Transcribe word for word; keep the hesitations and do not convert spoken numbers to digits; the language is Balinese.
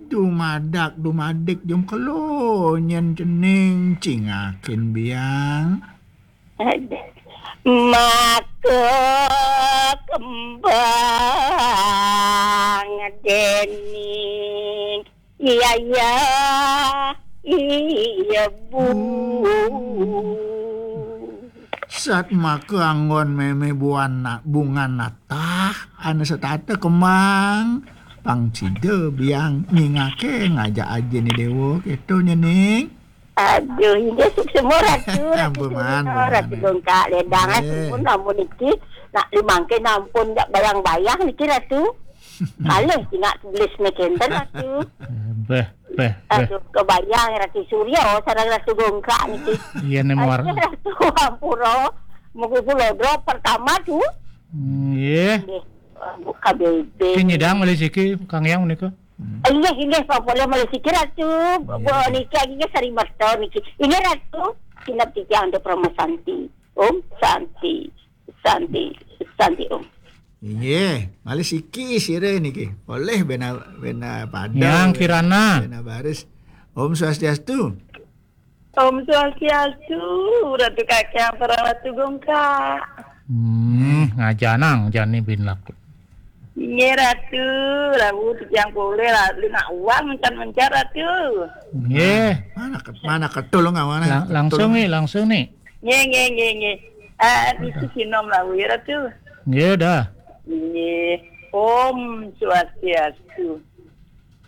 Dumadak dumadik jum kelo nyen cening cingakin biang. Maka kembang dening iya iya iya bu. Sat maka anggon meme buana bungan natah ane setata kemang pang sida biang nyingake ngajak aje ni dewa keto nyening. Aduh, inggih suksema Ratu, Ratu Ampun, Sumitra, ampun, Ratu ampun. Gongkak Ledang. Eh. Ampun, namun niki nak limangke nampun jak bayang-bayang niki Ratu. Malih singak tulis ne kenten Ratu. Beh, beh, beh. Aduh, kebayang Ratu Surya sareng Ratu Gongkak niki. Iya ne muar. Aduh, Ratu ampura. Mugi kula drop pertama tu. Nggih. Nggih. Buka bebe. Ki nyidang malih siki Kang Yang menika. Inggih, inggih, Pak Polih malih siki Ratu. Nggih. Bu niki nggih sari merta niki. Inggih Ratu, sinep titiang Anda Parama Santi. Om Santi, Santi, Santi Om. Inggih, malih siki sira niki. Polih bena bena pada. Yang Kirana. Bena baris. Om Swastiastu. Om Swastiastu, Ratu Kakang, para Ratu Gongkak. Hmm, ngajanang jani bin laku. Inggih Ratu, Ratu titiang polih lalu nak uang mencar-mencar Ratu. Nggih. Mana ket-, mana ketul ngawana? Lang-, langsung nih, langsung nih. Nggih, nggih, nggih, nggih. Ah, niki sinom lalu ya Ratu. Nggih dah. Nggih. Om Swastiastu.